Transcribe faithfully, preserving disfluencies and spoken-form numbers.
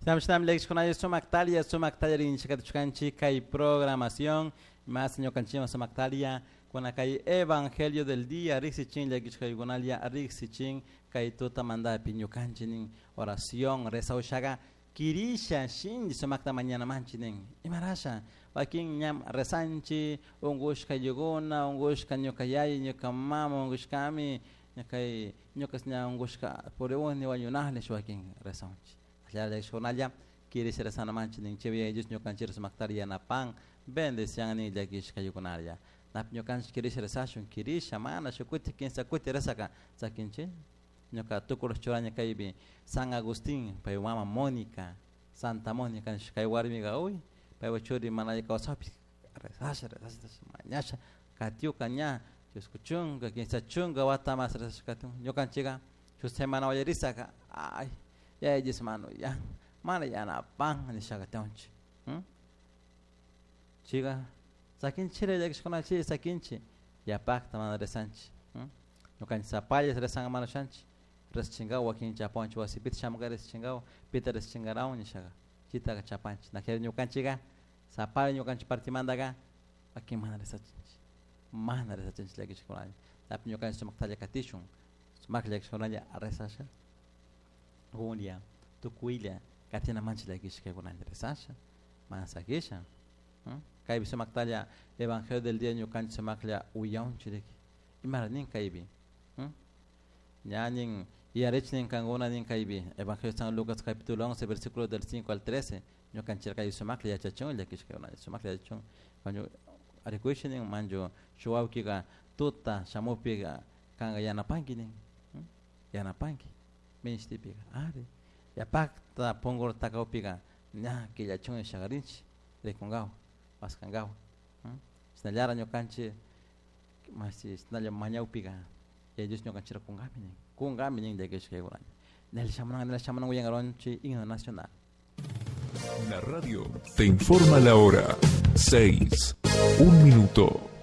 Shinam llakishkunalla sumak talla sumak tallarinchik kay programación más ñukanchikman sumak talla kuna kay evangelio del día riqsichin llakishkaykunalla riqsichin kay tutamantapi ñukanchik nin oración rezawshaqa kirisha shinchi sumakta mañanamanchik nin imarasha wakin ñam rezanchik unqushka ayllukuna unqushka ñuka yaya ñuka mama unqushkami kay ñuka ña unqushka puriuni wañunajnish wakin rezanchik llakishkunalla kirisha rezanamanchik nin chay Yaya Dios ñukanchik sumaktari yanapan bendician nin llakishkaykunalla napi ñukanchik kirisha rezashun kirisha mana shuk kuti kinsa kuti rezaka sakinchik ñuka tukuy churani kaypi San Agustín pay mama Mónica Santa Mónica kay warmiqa uy paypa churi mana alli kawsapis rezasha rezasha mañasha katiuka ña chusku chunka kinsa chunka wata mas rezasha katiun ñukanchikka shuk semana wallarisaka ay Yaya Dios mano ya mana yanapan nishaka tiyanchik chayka sakinchik llakishkuna chay sakinchik yapakta mana rezanchik ñukanchik sapalla rezanka mana ushanchik rezchinkawa wakin chapawanchik wasipita shamunka rezchinkawa pita rezchinkarawan nishaka chaytaka chapanchik nakari ñukanchikka sapalla ñukanchik partimantaka wakin mana rezachinchik mana rezachinchik llakishkunalla tapi ñukanchik sumaktalla katishun sumaklla llakishkunalla rezasha Julia tukuylla katinamanchik llakishkaykunalla rezasha mana sakisha kaypi sumaktalla evangelio del día ñukanchik sumaklla uyawanchik imara nin kaypi ña nin yuyarichik nin kankuna nin kaypi evangelio de San Lucas capítulo once versículo del cinco al trece ñukanchik kay sumaklla yachachun llakishkaykunalla sumaklla yachachun rikuychik nin manchu shuk wawkika tuta shamukpika kanka yanapanki nin yanapanki minishtipika ari yapakta punku takawpika ña killachun nishakarinchik rikunkawa paskankawa chisnallara ñukanchik mashi chisnalla mañawpika Yaya Dios ñukanchikta kunkami nin kunkami nin llakishkaykunalla nel shamunan nel shamunan uyankaronchik himno nacional. La radio te informa la hora seis, un minuto.